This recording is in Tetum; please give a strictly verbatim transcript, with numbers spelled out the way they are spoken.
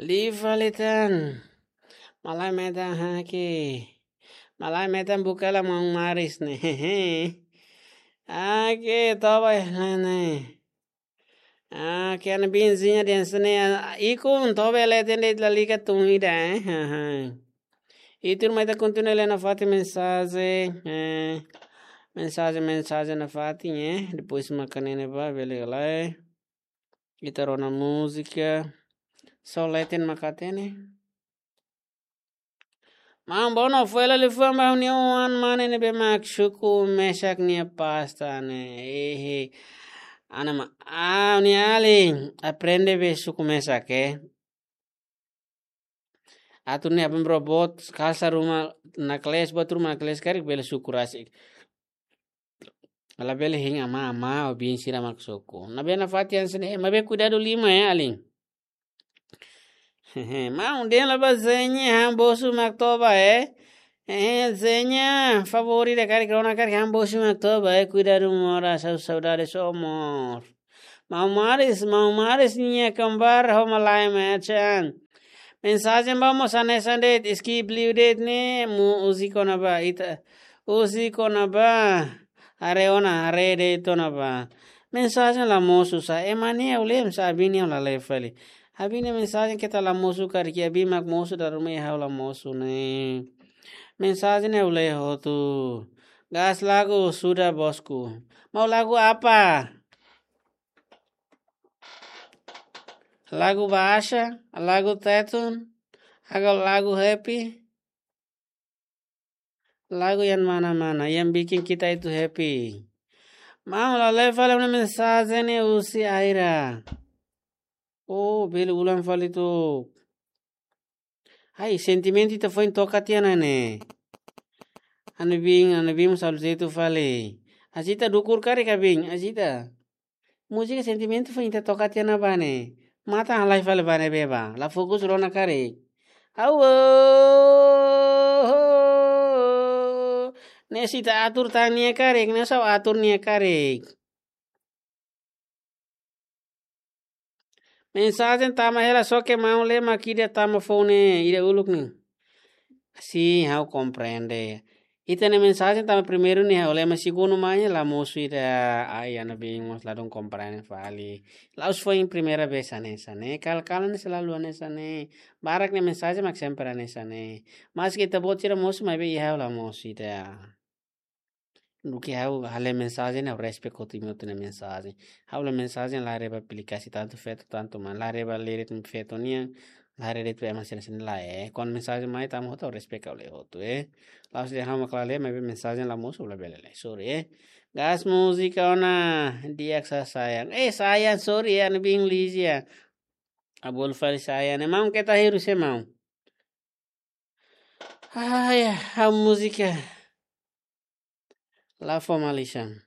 Liu fali tan. Malae metan haki. Malae metan buka la maun Maris ne'e. Oke, toba ne'e. Oke, ana Binzinha den sene. Ikun toba leten de'it lalika tun ida, eh. Haha. Ita mai ita kontinua lee nafatin mensajen, eh. Mensajen, mensajen nafatin, eh. Depois maka ne'e ba, bele lai. Ita rona múzika. Só leten mak hatene. Maun Bono, foin hela liafuan ba ha'u-nia oan mane ne'ebé mak suku mesak nia pasta ne'e. Ehe. Ana ma, ah, ha'u-nia alin, aprende be suku mesak, eh. Atu ne'e abang robot, kalsa ruma naklees, buat ruma naklees karik bele suku rasik. Labele hein amá, amá, ou biin sira mak suku. Ne'ebé nafatin hanesan ne'e, maibé kuidadu liman, eh, alin. Maun dehan la ba Zenya, han bosu mak toba, eh. Eh, Zenya, favór ida karik rona karik han bosu mak toba, eh. Kuidadu moras, ha'u saudade só amor. Maun Maris, maun Maris nia kembar ho malae metan. Mensajen ba mós hanesan de'it, skip liu de'it ne'e, múzika ona ba, ita. Múzika ona ba, haree ona, haree de'it ona ba. Mensajen la mosu sá, ema ne'e ha'u lee, sá abin ne'e ha'u la lee fali. Abin ne'e mensajen keta la mosu karik, abin mak mosu dala ruma ha'u la mosu ne'e. Mensajen ne'e ha'u lee hotu. Gas lagu sudah bosku. Mau lagu apa? Lagu bahasa, lagu Tetun, atau lagu happy, lagu yang mana-mana yang bikin kita itu happy. Maun, la lee fali mensajen ne'e husi Aira. Oh, bele ulang fali tu. Ai, sentimentu ita foin toka tiha ona ne'e. Ana biin, ana biin mós halo jeitu fali. Azita dukur karik ka biin, Azita. Múzika sentimentu foin ita toka tiha ona ba ne'e. Matan halai fali ba ne'ebé ba. La fokus rona karik. Au, oh, oh, oh. Ne'e se ita atur tan nia karik, ne'e sá atur nia karik. Mensajen tama hela, só ke maun lee mak ida tama foun ne'e, ida uluk ne'e. Sin, ha'u komprende. Ita-nia mensajen tama primeiru ne'e ha'u lee, mas segundu mai la mosu ida, ai, ana biin mós ladún komprende fali. La'ós foin primeira vez hanesan ne'e, kala-kala ne'e selalu hanesan ne'e. Barak nia mensajen mak sempre hanesan ne'e. Maske ita-boot sira mosu, maibé iha ha'u la mosu ida. Duké ha'u hale mensajen, ha'u respect hotu imi hotu-nia mensajen. Ha'u lee mensajen la haree ba aplikasi tantu feto tantu mane. La haree ba lee de'it feto nian, la haree de'it ema sira-sira lae. Kuandu mensajen mai tama hotu, ha'u respect ha'u lee hotu, eh. La'ós dehan ha'u mak la lee, maibé mensajen la mosu, labele lee. Sorry, eh. Gas múzika ona di'ak sá sayang. Eh, sayang, sorry, eh, ana biin Lizia. Abol fali sayang. Ne'e maun keta heru se maun. Ai, a múzika. La fó malisan.